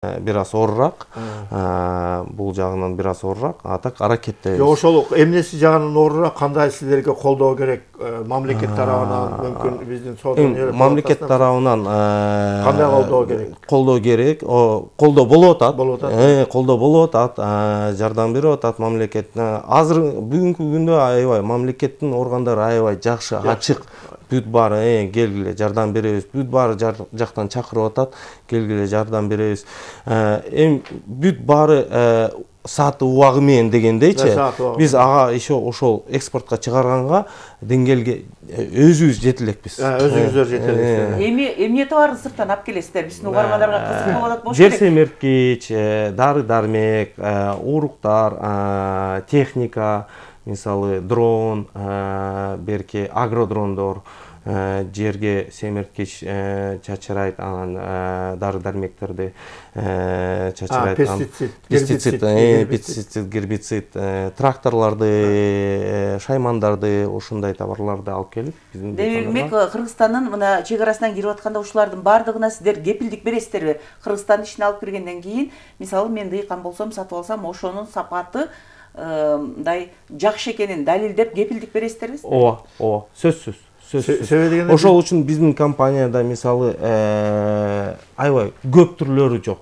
бир аз орурак, бул жагынан бир аз орурак, а так аракеттебиз. Ошол эмнеси жагынан орурак, кандай силерге колдоо керек? Мамлекет тарабынан, мүмкүн биздин сотун мамлекет тарабынан кандай колдоо керек? Колдоо керек, колдоо болуп атат. Колдоо болуп атат, жардам берип атат мамлекет. Азыр бүгүнкү күндө аябай мамлекеттин органдары аябай жакшы, ачык. Бүт баары келгиле жардам беребиз. Бүт баары жактан чакырып атат, келгиле жардам беребиз. Эми бүт баары сааты убагы менен дегендейчи. Биз ага еще ошол экспортко чыгарганга деңгээлге өзүбүз жете элекпиз. Өзүңүздөр жете элексиз. Эмне товарды сырттан алып келесиздер? Биздин угармандарга кызык болуп атат болуш керек. Жер семирткич, дары-дармек, уруктар, техника, мисалы дрон, берки агродрондор, жерге семирткич чачырайт, анан дары-дармектерди чачырайт. Пестицид, гербицид, тракторлорду, шаймандарды, ушундай товарларды алып келип биздин. Демек, Кыргызстандын мына чек арасынан кирип атканда ушулардын баардыгына сиздер кепилдик бересиздерби? Кыргызстандын ичине алып киргенден кийин, мисалы мен дыйкан болсом, сатып алсам, ошонун сапаты мындай жакшы экенин далилдеп кепилдик бересиздерби? Ооба, сөзсүз. Ошол үчүн биздин компанияда мисалы аябай көп түрлөрү жок.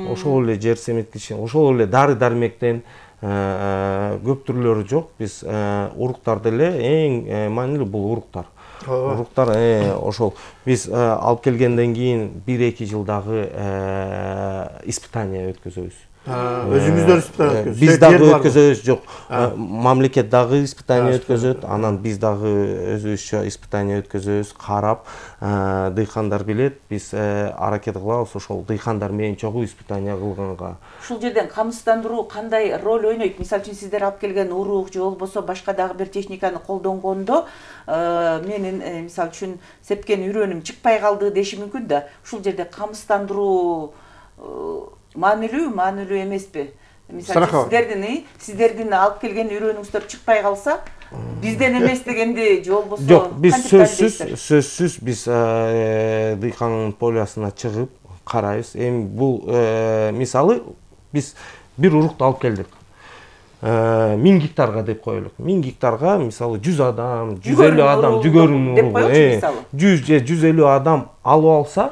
Ошол эле жер семирткич, ошол эле дары-дармектен көп түрлөрү жок. Биз уруктарды эле эң маанилүү бул уруктар. Уруктар ошол биз алып келгенден кийин 1-2 жылдагы испытание өткөзөбүз. Өзүңүздөр испытание өткөзөсүз? Биз дагы өткөзөбүз, жок. Мамлекет дагы испытание өткөзөт, анан биз дагы өзүбүзчө испытание өткөзөбүз, карап, дыйкандар билет, биз аракет кылабыз ошол дыйкандар менен чогуу испытание кылганга. Ушул жерден камсыздандыруу кандай роль ойнойт? Мисалы үчүн сиздер алып келген урук же болбосо башка дагы бир техниканы колдонгондо менин мисалы үчүн сепкен үрөнүм чыкпай калды деши мүмкүн да. Ушул жерде камсыздандыруу маанилүү эмеспи? Мисалы сиздердин алып келген үрөнүңүздөр чыкпай калса, бизден эмес дегенди же болбосо? Жок, биз сөзсүз биз дыйкандын полюсуна чыгып карайбыз. Эми бул мисалы биз бир урукту алып келдик. 1000 гектарга деп коелук. 1000 гектарга мисалы 100 адам, 150 адам жүгөрүн уругу, 100 же 150 адам алып алса,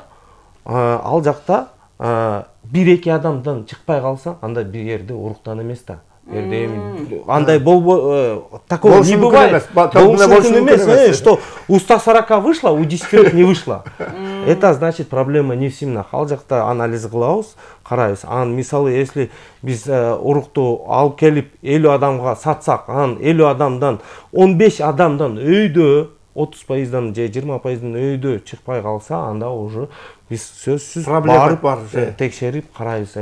ал жакта 1-2 адамдан чыкпай калса, анда бир жерде уруктан эмес да. Андай такого не бывает. Что у 140 вышло, у 10 не вышло. Это значит проблема не в семенах. Ал жакта анализ кылабыз, карайбыз. Анан мисалы, если биз урукту алып келип 50 адамга сатсак, анан 50 адамдан 15 адамдан өйдө 30%дан же 20%дан өйдө чыкпай калса, анда уже биз сөзсүз барып текшерип карайбыз,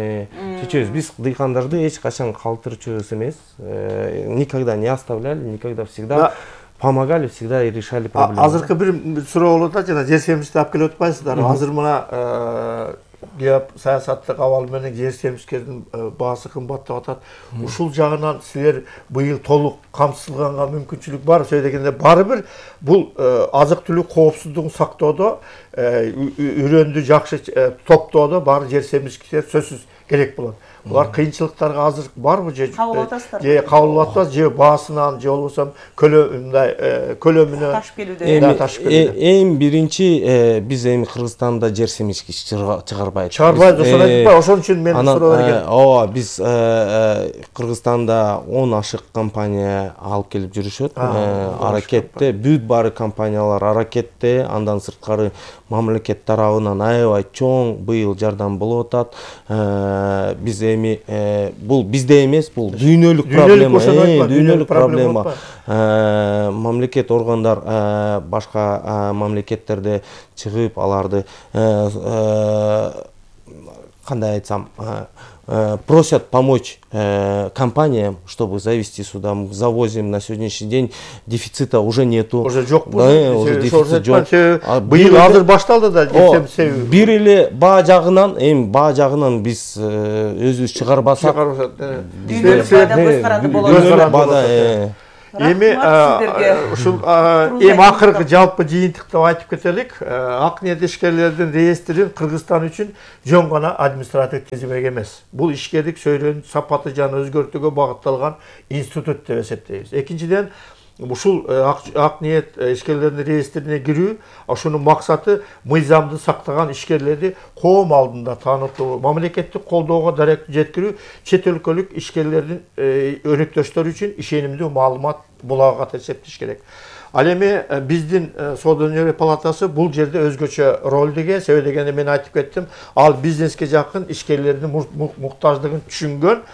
чечебиз. Биз дыйкандарды эч качан калтырчубуз эмес, никогда не оставляли, никогда всегда помогали, всегда решали проблемы. Азыркы бир суроо болот да, жана жер семирткичти алып келип атпайсыздар. Азыр мына саясаттык абал менен жер семирткичтердин баасы кымбаттап атат. Ушул жагынан силер быйыл толук камсыздалганга мүмкүнчүлүк бар. Сөй дегенде бары бир бул азык-түлүк коопсуздугун сактоодо, үрөндү жакшы топтоодо баары жер семирткичтер сөзсүз керек болот. Булар кыйынчылыктарга азыр барбы же кабыл атпайбы, же баасынан, же болбосо көлөмүнө ташып келүүдө? Эң биринчи биз эми Кыргызстанда жер семирткич чыгарбайбыз. Ошон айтпай, ошон үчүн мен суроо берген. Ооба, биз Кыргызстанда 10 ашык компания алып келип жүрүшөт. Аракетте, бүт баары компаниялар аракетте, андан сырткары мамлекет тарабынан аябай чоң быйыл жардам болуп атат. Биз эми бул бизде эмес, бул дүйнөлүк проблема. Дүйнөлүк проблема. Мамлекет органдар башка мамлекеттерде чыгып аларды кандай айтсам, просят помочь компаниям, чтобы завести сюда. Мы завозим на сегодняшний день, дефицита уже нету. Уже жок. Уже дефицит жок. Быйыл азыр башталды да. Бир эле баа жагынан, эми баа жагынан биз өзүбүз чыгарбасак, дүйнөлүк баада көз каранды болот. Эми ушул эми акыркы жалпы жыйынтыкты айтып кетелик. Ак ниет ишкерлердин реестрин Кыргызстан үчүн жөн гана административдик тизмек эмес. Бул ишкерлик сөйлөөнүн сапаты жана өзгөртүүгө багытталган институт деп эсептейбиз. Экинчиден, ушул ак ниет ишкерлердин реестрине кирүү, ошонун максаты мыйзамды сактаган ишкерлерди коом алдында таанытуу, мамлекеттик колдоого дарек жеткирүү, чет өлкөлүк ишкерлердин өнөктөштөрү үчүн ишенимдүү маалымат булагы катары эсептеш керек. Ал эми биздин Соода өнөр палатасы бул жерде өзгөчө ролду эге, себеби дегенде мен айтып кеттим, ал бизнеске жакын, ишкерлердин муктаждыгын түшүнгөн,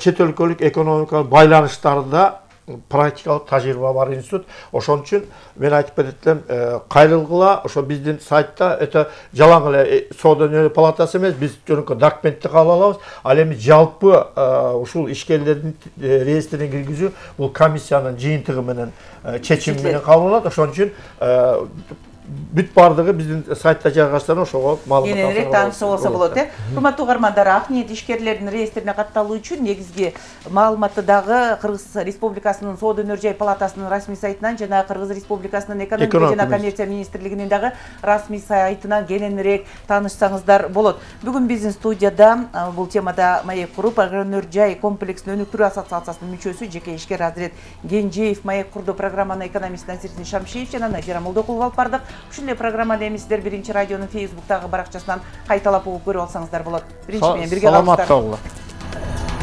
чет өлкөлүк экономикалык байланыштарда практикалык тажрыйба бар институт. Ошон үчүн мен айтып кетем, кайрылгыла, ошо биздин сайтта это жалаң эле Соода өнөр палатасы эмес, биз жөнөкөй документти кабыл алабыз. Ал эми жалпы ушул ишкерлердин реестрине киргизүү бул комиссиянын жыйынтыгы менен чечими менен кабыл алынат. Ошон үчүн бүт бардыгы биздин сайтта жайгаштырылган, ошого маалымат кененирээк таанышса болсо болот. Урматтуу угармандар, ак ниет ишкерлердин реестрине катталуу үчүн негизги маалыматты дагы Кыргыз Республикасынын Соода өнөр жай палатасынын расмий сайтынан жана Кыргыз Республикасынын экономика жана коммерция министрлигинин дагы расмий сайтынан кененирээк таанышсаңыздар болот. Бүгүн биздин студияда бул темада маек куруп, өнөр жай комплексин өнүктүрүү ассоциациясынын мүчөсү, жеке ишкер Азирет Кенжеев, маек курду программанын экономист Насирдин Шамшиев жана Назира Молдокулова алып бардык. Ушундай программаны эми сиздер Биринчи радионун Facebook'тагы баракчасынан кайталап угуп көрүп алсаңыздар болот. Биринчи менен бирге калыңыздар.